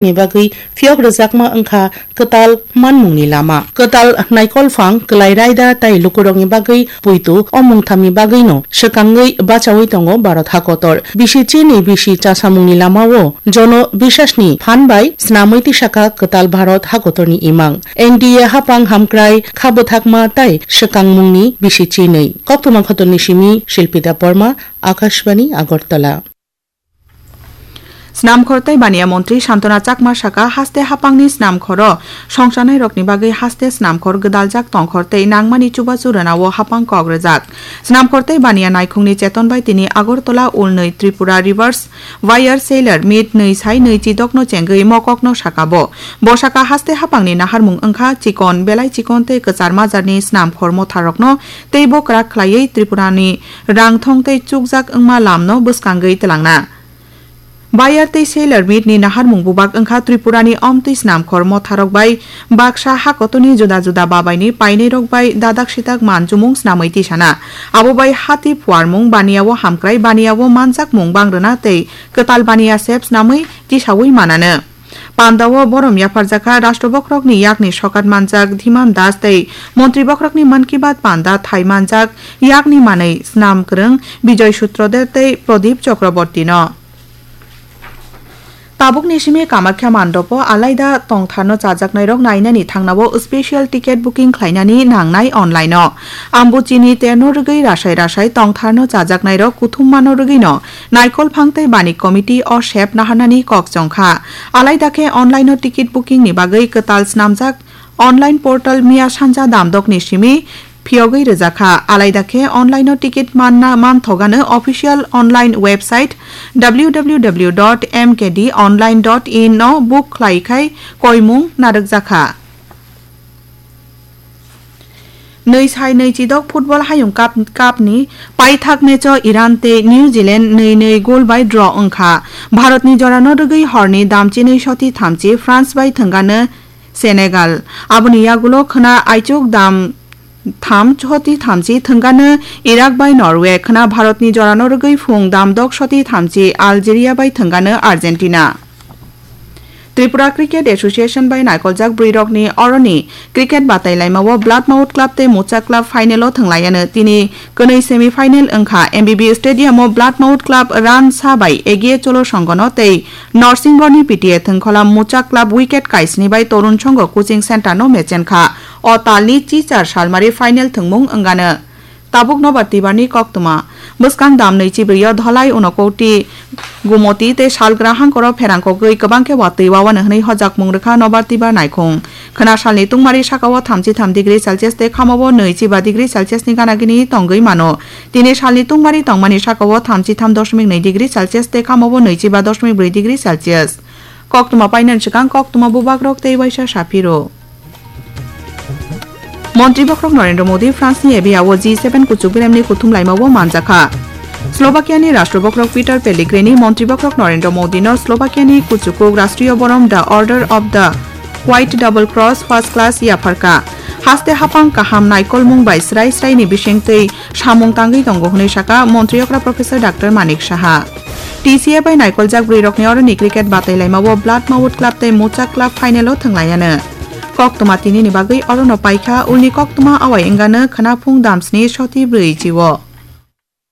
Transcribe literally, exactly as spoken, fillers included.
ni bagwi phiyok rwjakma wngkha kwtal manmungni lama. Kwtal naikolphang, kwlai raida tei lukurokni bagwi puitu o mungthamni bagwino swkangwi bachaui tongo Bharat hakotor. Bisi chini bisi chasamungni lamao jono bisasni phan bai snamwi tisakha kwtal Bharat hakotorni imang. N D A hapang hamkrai kha bwthakma tei swkangmungni bisi chinwi. Koktwma khotoni simi Shilpita Borma, Akashbani, Agartala. Snamkhor tei Baniya Montri Santona Chakma saka, haste hapangni snamkhoro songchanairokni bagwi haste snamkhor gwdaljak tongkhor tei nangmani chubachu rwnao hapang kok rwjak. Snamkhor tei Baniya naikhungni cheton bai tini Agartala Ulnwi Tripura Rivers Wire Seller Meet nwi sai nwi chidokno chengwi mokokno saka bo. Bo saka haste hapangni naharmung wngkha chikon, belai chikon tei kwchar majarni snamkhor motharokno teibo kwrak khlaiwi Tripurani rangthong tei chukjak wngma lamno bwskangwi twlangna. Buyer tei seller meet ni naharmung bubak wngkha Tripura ni omtwi snamkhor motharok bai baksa hakotoni juda juda babai ni painai rok bai dadak sitak manchumung snamwi tisana. Abo bai hati phuarmung, baniya o hamkrai, baniya o manjakmung bangrwna tei kwtal baniya sep snamwi tisaui mananw. Panda o borom yapharjakha Rashtra Bokhorok ni yakni sokat manjak Dhiman Das tei Montri Bokhorok ni Mann Ki Baat panda thai manjak yakni manwi snam kwrwng Bijoy Sutrodar tei Pradip Chakraborty no. Tabukni simi Kamakhya mandopo alaida tongtharno chajaknairok nainani thangnao special ticket booking khlainani nangnai online-o. Ambuchini terno rwgwi rasai rasai tongtharno chajaknairok kuthum mano rwgwino Naikolphang tei Banik Committee o sep naharnani kok chongkha. Alaida khe online-o ticket booking-ni bagwi kwtal snamjak online portal miya sanja damdokni simi phiyogwi rwjakha. Alaida khe online-o ticket manna manthogano official online website W W W dot M K D online dot in no book khlai khai koimung narwkjakha. Nwi sai nwi chidok Football Hayung Cup, Cup ni paithak match o Iran tei New Zealand nwi nwi goal bai draw wngkha. Bharat ni jora no rwgwi hor ni damchinwi soti thamchi France bai thwngano Senegal. Aboni yagulo khwna aichuk dam tham soti thamchi thwngano Iraq bai Norway, khwna Bharat ni jora no rwgwi phung dam dok soti thamchi Algeria bai thwngano Argentina. Tripura Cricket Association bai naikoljak bwrwirokni oroni cricket batailaimao Blood Mouth Club tei Mucha Club final o thwnglaiano tini kwnwi semi final wngkha. M B B Stadium o Blood Mouth Club run sa bai egiye Cholo Songhono tei Norsingorni P T A thwngkhola Mucha Club wicket kaisni bai Torun Songho coaching center no mechenkha. O talni chichar salmari final thwngmung wngano. Tabuk nobar twibarni koktwma. Bwskang dam nwi chibrwi o Dholai, Unakoti, Gumoti tei Salgra hangkoro pherang kogwi kwbang khe watwi wawano hwnwi hojakmung rwkha nobar twibar naikhung. Khwna salni tungmari sakao thamchi tham degree Celsius tei khamao nwi chiba degree Celsius ni gana gini tongwi mano. Tini salni tungmari tongmani sakao thamchi tham dosmik nwi degree Celsius tei khamao nwi chiba dosmik brwi degree Celsius. Koktwma painani swkang koktwma bubagrok tei waisa saphiro. Montri bokhorok Narendra Modi France ni Avia o G seven kuchuk beremni kuthum laimao manjakha. Slovakia ni Rashtra bokhorok Peter Pellegrini Montri bokhorok Narendra Modi no Slovakia ni kuchukuk Rashtriya borom The Order of the White Double Cross First Class yapharkha. Haste hapang kaham naikolmung bai srai srai ni bising tei samung tangwi tongo hwnwi saka Montri okra Professor Doctor Manik Saha. T C A bai naikoljak bwrwirokni oroni cricket batailaimao Blood Mouth Club tei Mucha Club final o thwnglaiyano. Koktwma tinini bagwi orono paikha, ulni koktwma awai wngano khwnaphung damsni soti brwi chio.